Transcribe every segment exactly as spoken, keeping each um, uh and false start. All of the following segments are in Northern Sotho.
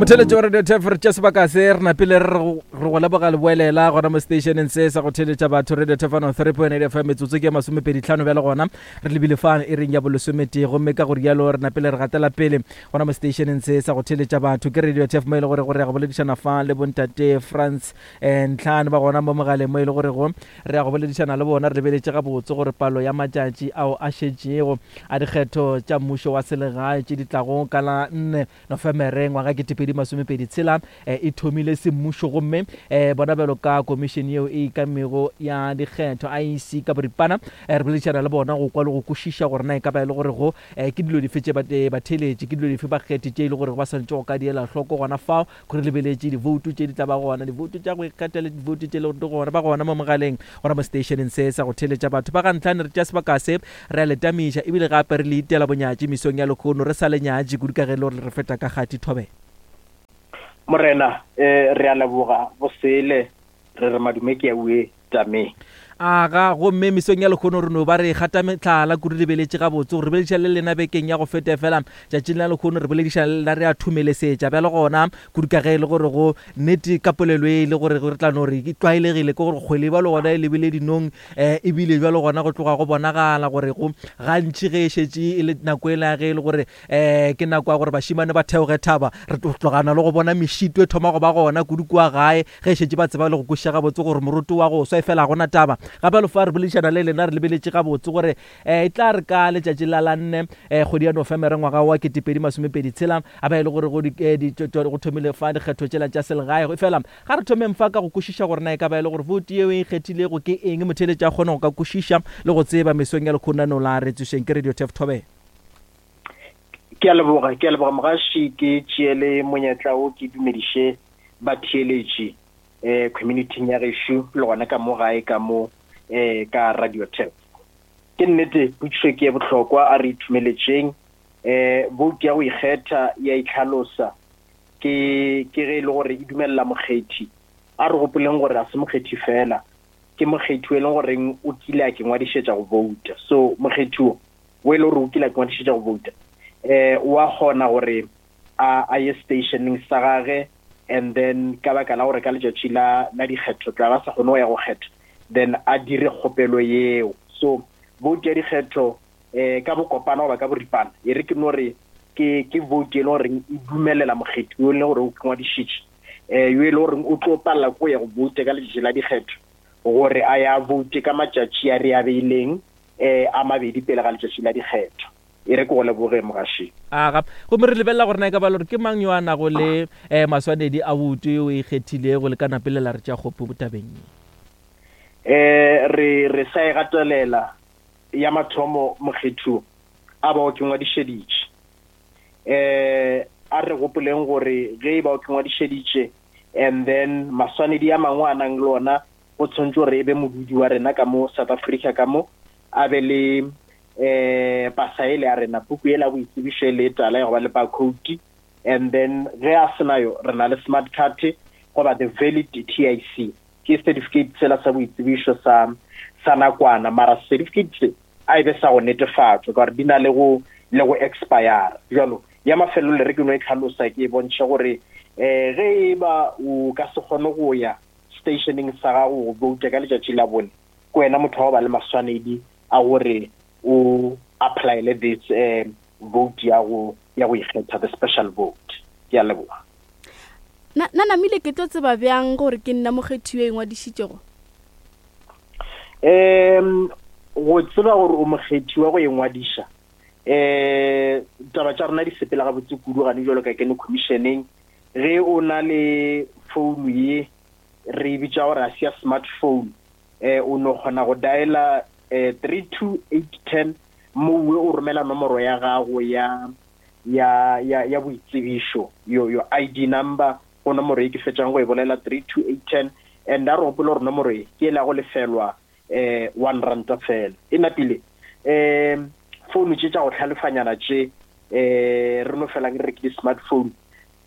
Motheletši wa Radio Turf, re tša sebaka se re napile re re go leboga leboelela gona mo stationeng se sa go theletša batho Radio Turf one three point eight F M. Metsotso ke ya masomepedi tlhano bjale gona re lebile fa e reng ya bolesometee, gomme ka go rialo re napile re gatela pele gona mo stationeng se sa go theletša batho ke Radio Turf, mo e le gore gore ya go boledišana fa le bontate Frans Ntlhane ba gona mo mogaleng, mo e le gore go re ya go boledišana le bona re lebeletše gabotse gore palo ya matšatši ao a šetšego a dikgetho tša mmušo wa selegae tše di tlago ka la nne Nofemere ngwaga ketepedi masomepedi tshela e thomile semmušo, gomme bona bjalo ka komišene yeo e ikamego ya dikgetho I E C ka boripana re boledišana le bona go kwa le go kwešiša gore na e ka ba e le gore go ke dilo dife tše batheletše, ke dilo dife bakgethi tše e le gore ba swanetše go ka di ela hloko gona fao gore lebeletše divoutu tše di tla ba gona, divoutu tša go ikgetha le divoutu tše le gore di gona ba gona mo mogaleng gona mo stationeng se sa go theletša batho ba ga Ntlhane. Re tša sebaka se re a le tamiša ebile gape re le itela bonyatši mesong ya lekgono, re sa le nyatši kudu ka ge le gore re feta ka kgati thobela. Morena, eh re a leboga bosele re re madume ke a ue tame. Aga, gomme mesong ya lekgono re no ba re gata metlhala kudu lebeletše gabotse gore re boledišana le lena bekeng ya go feta, fela tšatšing la lekgono re boledišana le lena re a thumelesetša bjale gona kudu ka ge e le gore go nnete ka polelo e le gore re tla no re e tlwaelegile ke gore kgwele bjalo gona e lebile dinong, um ebile bjalo gona go tloga go bonagala gore go gantši ge e šetše e le nako e la ge e le gore um ke nako ya gore bašimane ba theoge thaba, re tlogana le go bona mešito e thoma go ba gona kudu kua gae ge e šetše ba tseba le go kwešiša gabotse gore moroto wa go swa e fela gona taba. Gape lo fa re boledišana le lena re lebeletše gabotse gore um e tla re ka letšatši la la nne um kgwedi ya Nofemere ngwaga wa ketepedi masomepedi tshela a ba e le gore go thomile fa dikgetho tšela tša selegae. Fela ga re thomeng fa ka go kwešiša gore na e ka ba e le gore vote yeo e ikgethilego ke eng, motheletši a kgone go ka kwešiša le go tseba mesong ya lekgonano la re tsošeng ke Radio Turf Thobela. Ke a leboga, ke a leboga mogaši, ke tšeele monyetla o ke dumediše batheeletši eh community ya gešo le gona ka mo gae ka mo eh ka Radio Turf. Ke nnete potšišo ke e bohlokwa, a re ithumeletšeng. Eh vote ya go ikgetha ya itlhalosa ke ke ge e le gore e dumella mokgethi. A re gopoleng gore a se mokgethi fela, ke mokgethi o e leng goreng o kile a ke ngwadišetša go vouta. So mokgethi o o e le gore o kile a ke ngwadišetša go vouta, eh wa kgona gore a a ye stationeng sa gage, and then ka baka la gore ka letšatši la la dikgetho tla ba sa kgone go ya go kgetha, then a dire kgopelo yeo. So vote ya dikgetho eh ka bokopana goba ka boripana e re ke no re ke ke vote e le goreng e dumelela mokgethi yo e leng gore o ngwadišitše, eh yo e le goreng o tlo palela ko ya go vote ka letšatši la dikgetho gore a ya vote ka matšatši a re a beileng eh a mabedi pele ga letšatši la dikgetho. E re ke go leboge mogaši. Aga, gomme re lebelela gore na e ka ba le gore ke mang yo a nago le um maswanedi a bouto eo e ikgethilego le ka napele la re tša kgopo tabeng ye. Eh re re sa e gatelela ya mathomo mokgetho a ba o ke ngwadišeditše. Eh a re gopoleng gore ge e ba o ke ngwadišeditše and then maswanedi a mangwe a nang le ona go tshwanetse gore e be modudi wa rena ka mo South Africa ka mo, a be le eh pasa ele ya rena, puku ela boitsebišo le tala ya go ba le barcode, and then ge a sena yo re na le smart card goba the valid T I C, ke certificate sela sa boitsebišo sa sa nakwana, mara certificate se a e be sa go netefatšwa ka gore di na le go le go expire. Jalo ya mafelelo le re ke no e tlhalosa ke e bontšhe gore eh ge e ba o ka se kgone go ya stationeng sa gago go vouta ka letšatši la bone, ke wena motho wa go ba le maswanedi a gore o applyele this eh vote ya go ya go ikgetha, the special vote. Ke a leboga. Na na namile ke tlo tseba bjang gore ke nna mokgethi yo e ngwadišitšego? Em go tseba gore o mokgethi wa go ingwadiša, eh taba tša rena di sepela gabotse kudu gane jwalo ka kene commissioneng. Ge o na le phone ye re e bitša gore a se ya smartphone, eh o no kgona go diala eh three two eight ten mowe o romela nomoro ya gago ya ya ya ya boitsebišo, yo yo I D number go nomoro e ke fetšang go e bolela three two eight ten, and a re gopole gore nomoro e ke e la go lefelwa eh one rand fela. E napile eh phone tše tša go hlalefanyana tše eh re no felang re ke di-smartphone,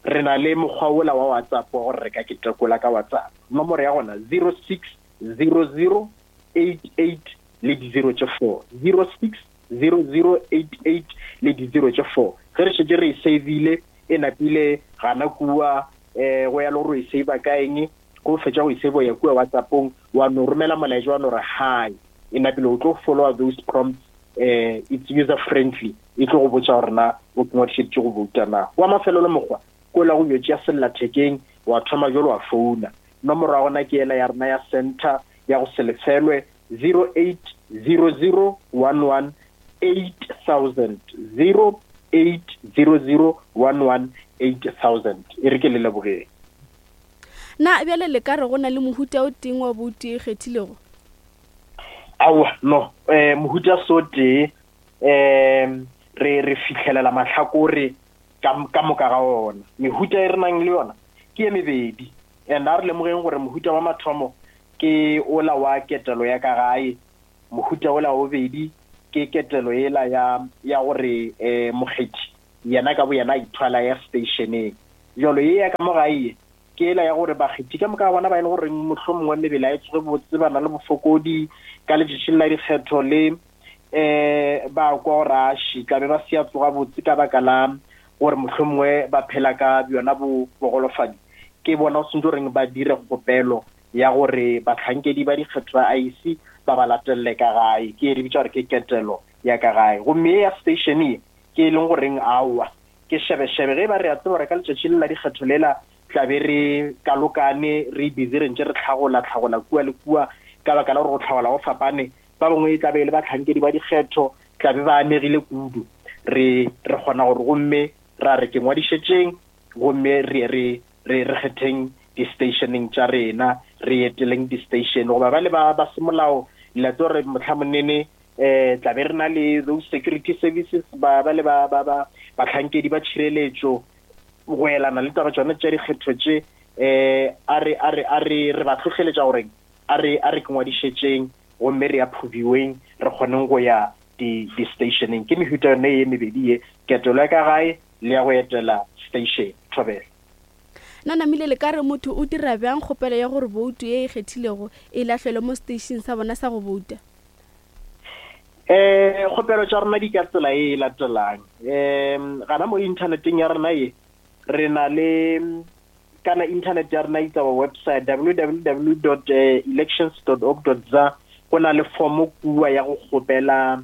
re na le mokgwa wola wa WhatsApp wa gore re ka ke tekola ka WhatsApp. Nomoro ya gona zero six zero zero eight eight le di zero tše four, zero six zero zero eight eight le di zero tše four. Ge re šetše re e save-ile E napile gana kua um go ya le gore o e save ka eng, go fetša go e save ya kua WhatsAppong, wa no romela molaetša wa no re hi, e napile o tlo followa those prompts. um it's user friendly, e tlo go botša gore na o ngwadišeditše go bouta na. Wa mafelelo mokgwa ko la go yo tšea sellathekeng wa thoma jalo wa founa. Nomoro ya gona ke ela ya rena ya center ya go se lefelwe, zero eight zero zero one one eight thousand, zero eight zero zero one one eight thousand. E re ke le lebogeng. Na bjale le ka re go na le mohuta o teng wa boutu e kgethilego? Aowa, no, um mohuta so tee, um re re fihlelela mahlakore ka ka moka ga ona. Mehuta e re nang le yona ke ye mebedi, and a re lemogeng gore mohuta wa mathomo ke ola wa ketelo ya ka gae, mohuta ola wa bobedi ke ketelo ela ya ya gore um mokgethi yena ka bo yena a ithwala ya stationeng. Jalo ye ya ka mo gae ye ke ela ya gore bakgethi ka moka ga bona ba e le goreng mohlomongwe mebele a e tsoge botse, ba na le bofokodi ka letšatšing la dikgetho le um ba kwa gore aši tlabe ba se ya tsoga botse ka baka la gore mohlomongwe ba phela ka bjona bo bogolofadi, ke bona go sentse goreng ba dire kgopelo ya gore bahlankedi ba dikgetho ba I E C ba ba latelele ka gae, ke e re bitša gore ke ketelo ya ka gae. Gomme ye ya station ye ke e leng goreng aowa ke šebešebe, ge ba re a tseba gore ka letšatši le la dikgetho lela tlabe re kalokane re busy re ntše re tlhagola tlhagola kua le kua, ka baka la gore go tlhagola go fapane, ba bangwe e tlabe e le bahlankedi ba dikgetho tlabe ba amegile kudu. Re re kgona gore gomme ra re ke ngwadišetšeng, gomme re re re re kgetheng di-stationeng tša rena, re eteleng di-station. Goba ba le ba ba semolao le tlo re mohlamonene um tlabe re na le those security services, ba ba le ba ba ba bahlankedi ba tšhireletšo go elana le taba tšona tša dikgetho tše, um a re a re a re re ba hlohleletša gore a re a re ke ngwadišetšeng gomme re approviweng re kgoneng go ya di di-stationeng. Ke mehuta yone ye mebedi ye, ketelo ya ka gae le ya go etela station. Thobela. Na namile le ka re motho o dira bjang kgopelo ya gore boutu ye e kgethilego e lahlelwe mo station sa bona sa go bouta? Um kgopelo tša rena di ka tsela e latelang. Um gana mo inthaneteng ya rena ye re na le kana internet ya rena itsa website w w w dot elections dot org dot za, go na le form kua ya go kgopela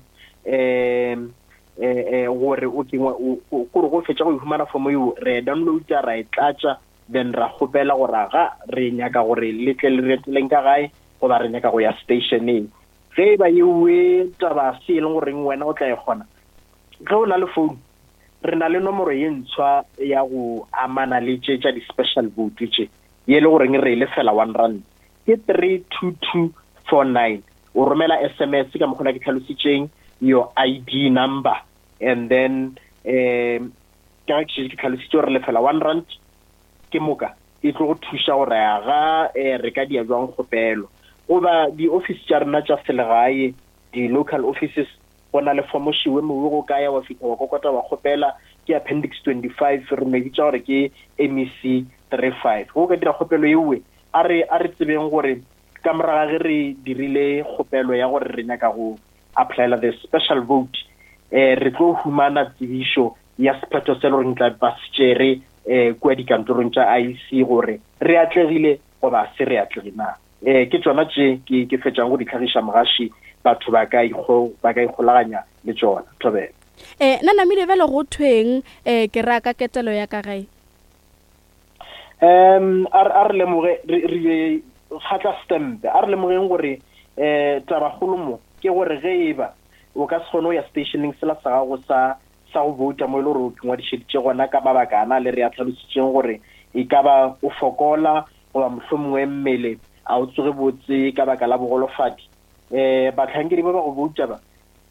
um eh gore o kengwe gore go fetša go humana form eo re downloada ra e tlatša, then ra kgopela gore ga re nyaka gore le tle le re eteleng ka gae goba re nyaka go ya stationeng. Ge e ba ewe taba se e leng goreng wena o tla e kgona, ge o na le phone re na le nomoro ye ntshwa ya go amana le tše tša di-special vote tše, ye le goreng re e lefela one rand, ke three two two four nine. O romela S M S ka mokgwa ke tlhalositšeng, your I D number, and then um ka ke ke tlhalositše gore lefela one rand ke moka e tlo go thuša gore ga re ka dia jwang kgopelo. Goba di-office tša rena tša selegae, di-local offices, go na le form šiwe mowe go kaya wa fihla wa kokota wa kgopela, ke appendix twenty-five, re no e bitša gore ke M E C three five. Go ka dira kgopelo ewe, a re a re tsebeng gore ka morago ge re dirile kgopelo ya gore re nyaka go applyela the special vote, eh re tlo humana tsebišo ya sephetho se le goreng tla ba se tšere eh kua dikantorong tša I E C gore re atlegile goba se re atlege na. Eh ke tšona tše ke ke fetšang go di tlhagiša mogaši, batho ba ka ikgo ba ka ikgolaganya le tšona. Thobela. Eh na namile bjale go thweng eh ke ra ka ketelo ya ka gae? Um a re lemoge re re kgatla stamp, a re lemogeng gore eh tabakgolo mo ke gore ge e ba o ka se kgone go ya stationeng sela sa gago sa sa go bouta mo e le gore o ngwadišeditše gona ka mabaka ana le re a tlhalositšeng gore e ka ba o fokola goba mohlomongwe mmele a o tsoge botse ka baka la bogolofadi, um bahlankedi ba ba go bouta ba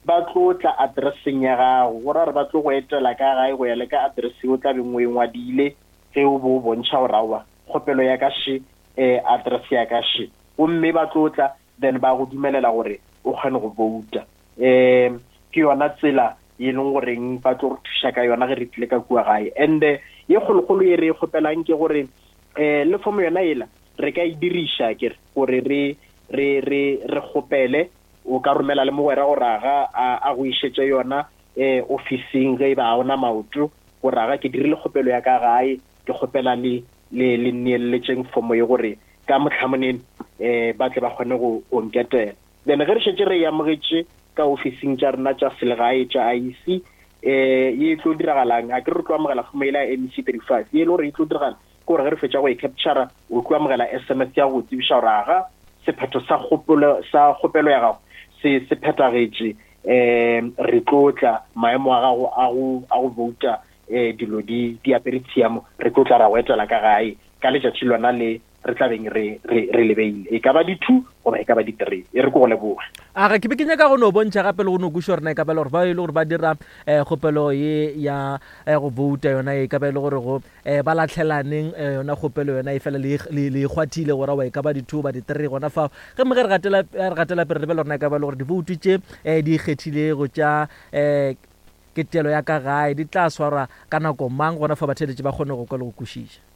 ba tlo tla addresseng ya gago, go ra gore ba tlo go etela ka gae go ya le ka address o tla beng o e ngwadile ge o bo o bontšha gore aowa kgopelo ya ka še, um address ya ka še, gomme ba tlo tla then ba go dumelela gore o kgone go bouta. Um ke yona tsela ye leng goreng ba tlo re thuša ka yona ge re tlile ka kua gae. And ye kgolokgolo ye re e kgopelang ke gore um le form yona ela re ka e diriša ke gore re re re re kgopele, o ka romela le mogwera gore aga a go išetše yona um officing ge e ba ona maoto, Gore aga ke dirile kgopelo ya ka gae, ke kgopela le le le neeletšeng fomo ye gore ka mohlamoneng eh ba tle ba kgone go go nketela. Then ge re šetše re e amogetše ka ofising tša rena tša selegae tša I E C, eh ye e tlo diragalang, a ke re tlo amogela fomo yela ya M E C thirty-five, ye e le gore e tlo diragala ke gore ge re fetša go e captura, o tlo amogela S M S ya go tsebiša gore aga sephetho sa kgopolo, sa kgopelo ya gago se se phethagetše, eh re tlo tla maemo a gago a go, a go vouta, eh dilo di, di apere tshiamo, re tlo tla ra go etela ka gae ka letšatši lona le re tla beng re, re, re lebeile, e ka ba di-two goba e ka ba di-three. E re ke go leboge. A ga ke be ke nyaka go no bontšha gape le go no kweša gore na e ka ba le gore ba e le gore ba dira, eh, kgopelo ye ya, eh, go vouta yona, e ka ba e le gore go, eh, ba latlhelaneng, eh, yona kgopelo yona e fela le, le, le kgwathile gore wa e ka ba di-two ba di-three gona fao. Ge mme ge re gatela, re gatela pele re lebele gore na e ka ba e le gore divoutu tše, eh, di ikgethilego tša, eh, ketelo ya ka gae di tla swarwa ka nako mang gona fa batheeletši ba kgone go kwa le go kwešiša?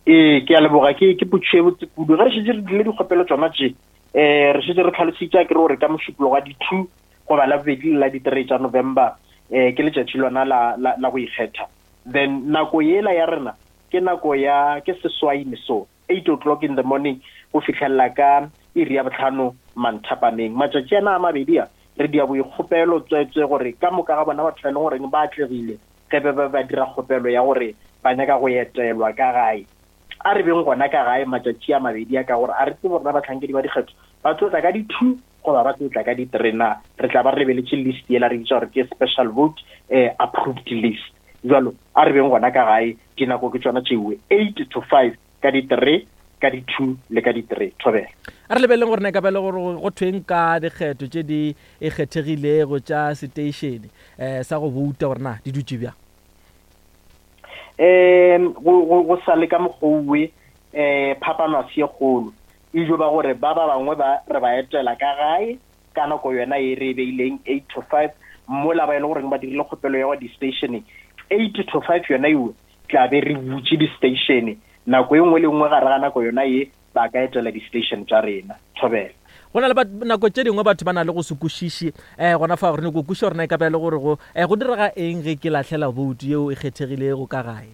Ee, ke a leboga, ke, ke potšo e botse kudu. Ge re šetše re dirile dikgopelo tšona tše, eh, re šetše re tlhalositše ke re gore ka mošupologo wa di-two goba la bobedi le la di-three tša November, eh, ke letšatši lona la, la, la go ikgetha. Then nako yela ya rena ke nako ya, ke seswai mesong, eight o'clock in the morning go fihlelela ka iri ya bohlano manthapameng. Matšatši ana a mabedi a re dia boikgopelo tswetswe gore ka moka ga bona batho ba e leng goreng ba atlegile ge ba ba ba dira kgopelo ya gore ba nyaka go etelwa ka gae, a re beng gona ka gae matšatši a mabedi a, ka gore a re tsebe gore bahlankedi ba dikgetho ba tlo tla ka di-two goba ba tlo tla ka di-three na. Re tla ba re lebeletše list yela re bitša gore ke special vote, eh, approved list. Jwalo a re beng gona ka gae, dinako ke tšona tšeo, eight to five ka di-three, ka di-two le ka di-three. Thobela. A re lebeleng gore na e ka ba le gore go thweng ka dikgetho tše di ikgethegilego tša seteišene, eh, sa go bouta gore na di dutše bjang? Em, go, go, go sa le ka mokgwa, eh, phapano a se ye kgolo. E jo ba gore ba ba bangwe ba re ba etela ka gae ka nako yona e re e beileng eight to five, mola ba e le goreng ba dirile kgopelo ya go di-station eight to five yona eo tla be re butše di-station nako e nngwe le nngwe gare ga nako yona ye ba ka etela di-station tša rena. Thobela. Go na le bat-, nako tše dingwe batho ba na le go se kwešiše, eh, gona fa gore ne go kwešiša gore na e ka ba e le gore go, eh, go direga eng ge ke lahlela voutu yeo e kgethegilego ka gae?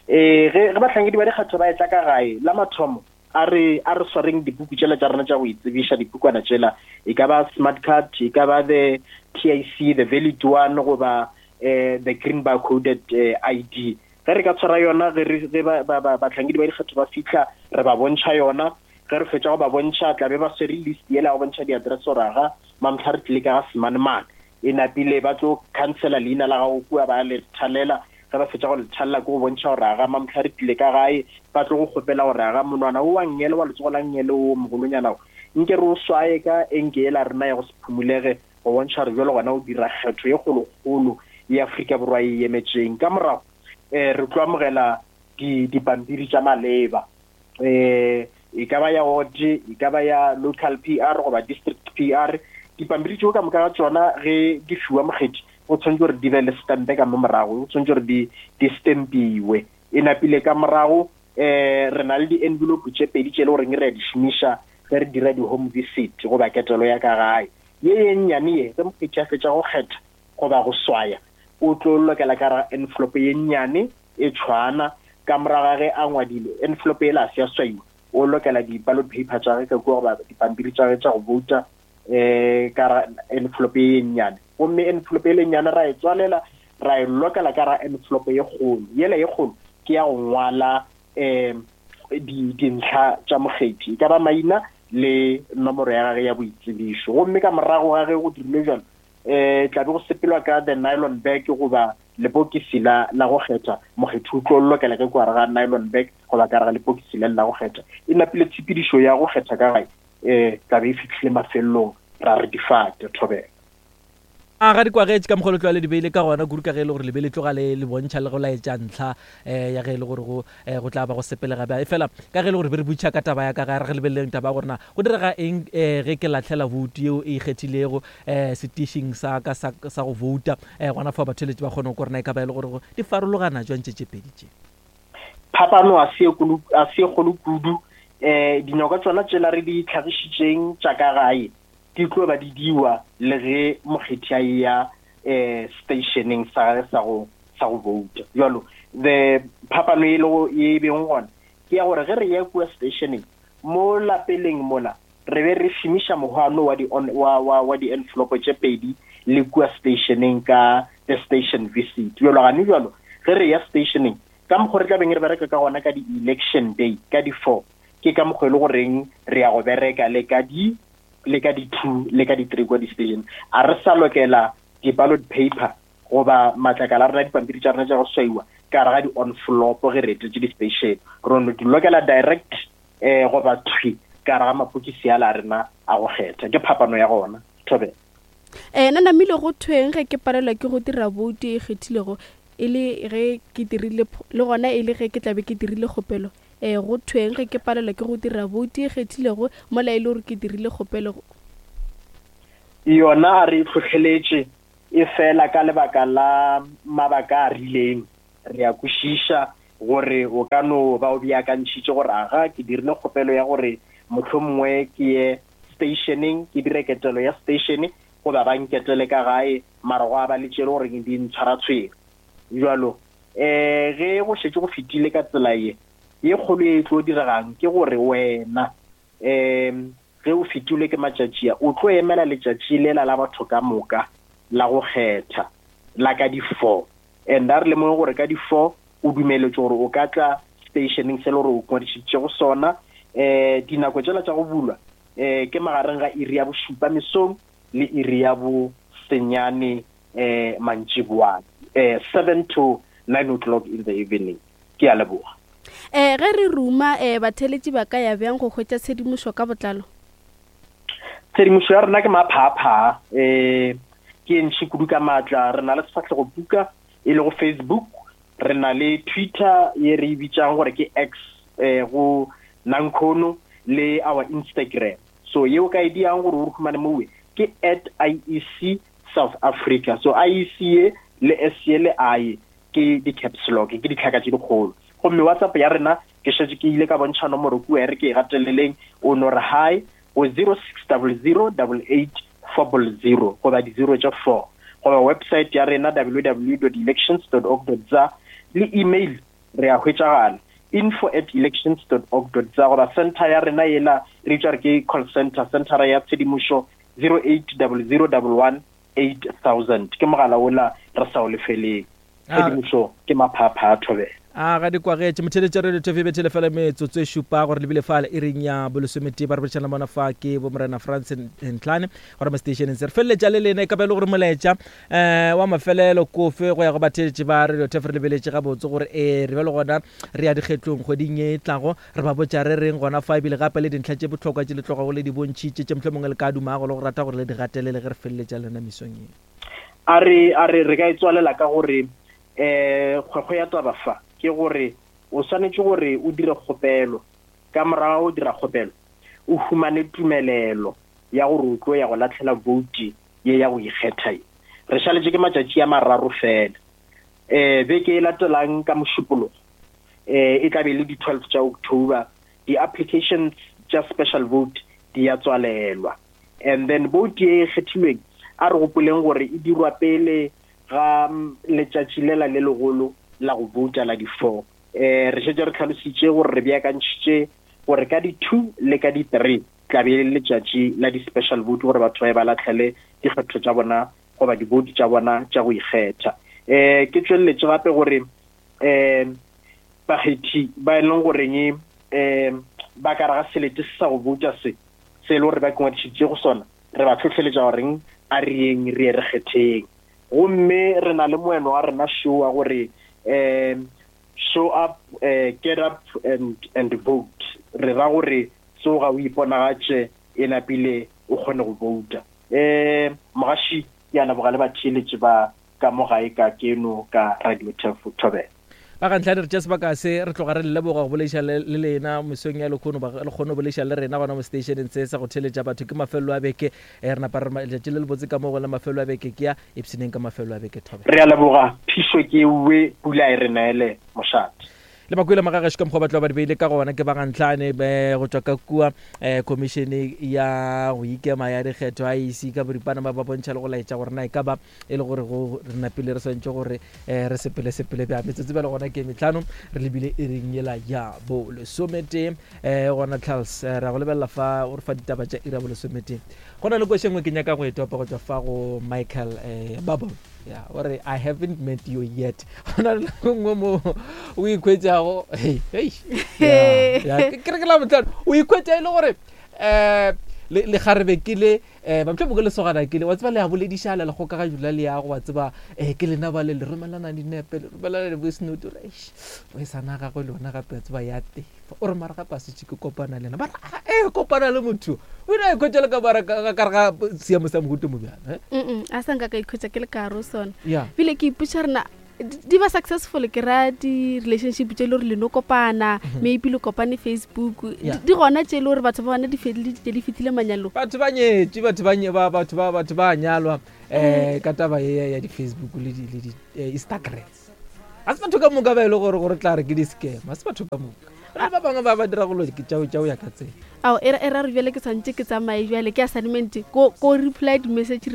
Eh, ge, ge bahlankedi ba dikgetho ba etla ka gae, la mathomo a re, a re swareng dipuku tšela tša rena tša go itsebiša, dipukwana tšela, e ka ba smart card, e ka ba the T I C, the valid one, goba, eh, the green barcoded, eh, I D. Ge re ka tshwara yona, ge re, ge ba, ba, ba, bahlankedi ba dikgetho ba fihla, re ba bontšha yona. Ge re fetša go ba bontšha, tla be ba swere list yela ya go bontšha di-address gore aga mamhla re tlile ka ga semanemane. E napile ba tlo cancela leina la gago kua, ba le thalela. Ge ba fetša go le thalela ke go bontšha gore aga mamhla re tlile ka gae, ba tlo go kgopela gore aga monwana o wa nngele, wa letsogo la nngele o mogolonyana o, nke re o swaye ka enke yela rena ya go se phumulege, go bontšha gore jwale gona o dira kgetho ye kgolokgolo ya Afrika Borwa e emetšeng. Ka morago, eh, re tlo amogela di-, dipampiri tša maleba, eh, e ka ba ya ward, e ka ba ya local P R goba district P R. Dipampiri tšeo ka moka ga tšona ge di fiwa mokgethi, go tshwanetse gore di be le stampe ka mo morago, go tshwanetse gore di, di stampiwe. E napile ka morago, eh, re na le di-envelope tše pedi tše e le goreng re a di šomiša ge re dira di-home visit goba ketelo ya ka gae. Ye ye nnyane ye, ge mokgethi a fetša go kgetha goba go swaya, o tlo lokela ka ra envelope ye nnyane e tshwana. Ka morago ga ge a ngwadile, envelope yela a se ya swaiwa, o lokela di-ballot paper tša gagwe ka kua goba dipampiri tša gagwe tša go vouta, eh, ka ra envelope ye nnyane. Gomme envelope ye nnyane ra e tswalela, ra e lokela ka ra envelope ye kgolo. Yela ye kgolo ke ya go ngwala, eh, di-, dintlha tša mokgethi, e ka ba maina le nomoro ya gagwe ya boitsebišo. Gomme ka morago ga ge go dirilwe jalo, eh, tla be go sepelwa ka the nylon bag goba lepokisi la, la go kgetha. Mokgethi o tlo lokela ka kwa gare ga nylon bag goba ka gare ga lepokisi le la go kgetha. E napile tshepedišo ya go kgetha ka gae, eh, tla be e fihlile mafelelong, ra re difate. Thobela. A ga di kwagetše ka mokgwa o le tloga le di beile ka gona, kudu ka ge e le gore le be le tloga le, le bontšha le go laetša ntlha, eh, ya ge e le gore go, eh, go tla ba go sepelega bjang. Efela ka ge e le gore be re botšiša ka taba ya ka gae, re ge lebeleleng taba ya gore na go direga eng, eh, ge ke lahlela voutu yeo e ikgethilego, eh, setišing sa ka sa, sa go vouta, eh, gona fao batheeletši ba kgone go kwa gore na e ka ba e le gore go di farologana jwang tše tše pedi tše. Phapano a se e kgolo, a se e kgolo kudu. Eh, dinyoka tšona tšela re di tlhagišitšeng tša ka gae di tlo ba di diwa le ge mokgethi a ya, eh, stationeng sa gagwe sa go, sa go vouta. Jalo the phapano e lego ye e beng gona ke ya gore ge re ya kua stationeng mo lapeleng mola re be re šomiša mohwano wa di wa wa wa di-envelope tše pedi le kua stationeng ka the station visit. Jalo gane jalo ge re ya stationeng ka mokgwa re tla beng re bereka ka gona ka di-election day ka di-four, ke ka mokgwa e le goreng re ya go bereka le ka di le ka di-two le ka di-three kwa di-station. A re sa lokela di-ballot paper goba matlakala a rena, dipampiri tša rena tša go swaiwa ka gare ga di-envelope ge re etetše di-station, re no di lokela direct um goba thwi ka gare ga mapokisi ala a rena a go kgetha. Ke phapano ya gona. Thobela. um na namile go thweng ge ke palelwa ke go dira boutu e kgethilego e le ge ke dirile le gona e le ge ke tlabe ke dirile kgopelo? um go thweng ge ke palelwa ke go dira boutu e kgethilego mola e le gore ke dirile kgopelo? Yona a re tlhotlheletše e fela ka lebaka la mabaka a rileng. Re a kwešiša gore o ka no ba o beakantšhitše gore aga ke dirile kgopelo ya gore mohlomongwe ke ye stationeng ke dire ketelo ya station goba ba nketele ka gae, mara go a ba le tšele gore di ntshwaratshwere. Jalo um ge go šetše go fetile ka tsela ye ye kgolo e tlo diregang ke gore wena um ge o fetilwe ke matšatši a, o tlo emela letšatši lela la batho ka moka la go kgetha la ka di-four. And a re lemoge gore ka di-four o dumeletše gore o ka tla stationeng se le gore o ngwadišitše go sona. Um dinako tšela tša go bulwa um ke magareng ga iri ya bošupa mesong le iri ya bo senyane um mantšiboana, um seven to nine o'clock in the evening. Ke a leboga. um ge re ruma um batheletši ba ka ya bjang go hwetša tshedimošo ka botlalo? Tshedimošo ya rena ke maphaaphaa, um ke e ntšhi kudu ka maatla. Re na le sefahlego buka e lego Facebook, re na le Twitter ye re e bitsang gore ke X um go Nankhono, le our Instagram. So yeo ka e diang gore o re humane mowe ke at I E C South Africa. So I E C ye le S ye le I ke di-caps lock, ke ditlhaka tše dikgolo. Gomme WhatsApp ya rena ke šetše ke ile ka bontšha nomoro kua, e re ke e gateleleng, o no re hi go zero six double zero double eight four zero goba di-zero tše four, goba website ya rena w w w dot elections dot org dot za, le email re a hwetšagala info at elections dot org dot za, goba center ya rena yela re bitša re ke call center, centera ya tshedimošo zero eight double zero double one eight thousand. Ke mogala ola re sa o lefeleng. Tshedimošo ke maphapha a Thobela. A ga di kwagetše motheletša radio T V bethele fela metsotso e šupa gore lebile fale e reng ya bolesometee. Ba re boletšana bona fa ke bo morena Frans Ntlane gore mo stationeng se re feleletša le lena e ka ba e le gore molaetša um wa mafelelo kofe go ya go batheletši ba radio T V. Re lebeletše gabotse gore ee re be le gona re ya dikgetlong kgweding ye e tlago, re ba botša re reng gona fa, ebile gape le dintlha tše bohlokwa tše le tlogago le di bontšhitše tše mohlomongwe le ka dumago le go rata gore le di gatelele ge re feleletša lena mesong ye. A re a re re ka e tswalela ka gore um kgwekgwe ya taba fa ke gore o swanetše gore o dire kgopelo, ka morago o dira kgopelo o humane tumelelo ya gore o tlo ya go latlhela vote ye ya go ikgetha ye. Re šaletše ke matšatši a mararo fela. Um beke e latelang ka Mošupologo um e tla be le di-twelve tša October, di-applications tša special vote di ya tswalelwa. And then vote ye e kgethilweng a re gopoleng gore e dirwa pele ga letšatši lela le legolo la go vouta la di-four. Um re šetše re tlhalositše gore re beakantšhitše gore ka di-two le ka di-three tla be le letšatši la di-special vote gore batho ba ye ba latlhele dikgetho tša bona goba di-vote tša bona tša go ikgetha. Um ke tšweleletše gape gore um bakgethi ba e leng goreng um ba ka re ga selete se sa go vouta se se e le gore ba kengwadišitše go sona, re ba tlhotlheletša goreng a re yeng re ye re kgetheng. Gomme re na le moeno wa rena show wa gore um show up, uh, get up and and vote. Re ra gore tsoga o iponagatše e napile o kgone go vouta. Um mogaši ke a leboga le batheeletši ba ka mo gae ka keno ka Radio Tefo Thobela. Ba ga ntlha re tša sebaka se re tloga re leboga go boleiša le lena mesong ya lekgono, le kgone go boleiša le rena gona mo stationeng se sa go theletša batho. Ke mafelelo a beke, re napa re letšatši le lebotse ka mo go le mafelelo a beke ke ya ipshineng ka mafelelo a beke. Thobela. Re a leboga, phišo ke ewe, pula e re neele mošate. Le bakwele magagešo ka mokgwa ba tlo ba di beile ka gona ke bagantlhane be go tšwa ka kua um commissione ya go ikema ya dikgetho I E C ka boripana ba ba bontšha le go laetša gore na e ka ba e le gore go re napile re swantše gore um re sepele sepele bja metsotso bjale gona ke metlhano re lebile e reng yela ya bo lesometee. Um gona Charles eh, ra go lebelela fa o re fa ditaba tša ira bo lesometee. Go na le koše nngwe ke nyaka go e topa go tšwa fa go Michael um Bubble. Yeah, ore I haven't met you yet. Go na le nako nngwe mo o ikhwetšago hei hei ya ke re ke la botlhano o ikhwetša e le gore um le lekgarebe ke le um bamtlhe ke lesogana ke le wa tseba le a boledišana le kgokaganyong la leago wa tseba um ke lena ba le le romelana dinepe le romelana di-voice note ore eish voiceana gagwe le yona gape wa tseba ya tefa o re mara gape a setse ke kopana le ena ba re e kopana le motho o ile a ikhwetša le ka mara ka gare ga seemo sa mohuto mo bjana mm a sa nka ka ikhwetša ke le ka gare o sona ebile ke ipotša rena di ba successful ke ra di-relationship tše le gore le no kopana maybe le kopane Facebook di gona tše le gore batho ba bona di feleditše di fetile manyalong batho ba nyetše batho ba ba batho ba batho ba nyalwa um ka taba ye ya di-Facebook le di le di-Instagram ga se batho ka moka ba e le gore gore tla re ke di-scam ga se batho ka moka re ba bangwe ba ba dira golo ke tšao tšao ya ka tsela ao e ra re bjale ke tshwanetse ke tsamaye bjale ke assignment ko ko reply di-message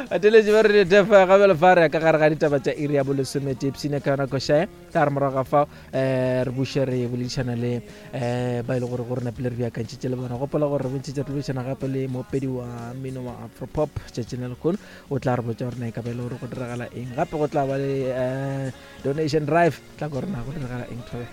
bateletše ba re defa gabele fa re ya ka gare ga ditaba tša iri ya bolesomete ipsene ka yona košae tla re morago ga fao um re buše re boledišana le um ba e le gore gore napile re beakantšhitše le bona. Gopola gore re bontšhitše re boledišana gape le moopedi wa mmino wa afropop tšatšing la lehono o tla re botša gore na e ka ba e le gore go diragala eng gape go tla ba le um donation drive tla ko rena go diragala eng thobe.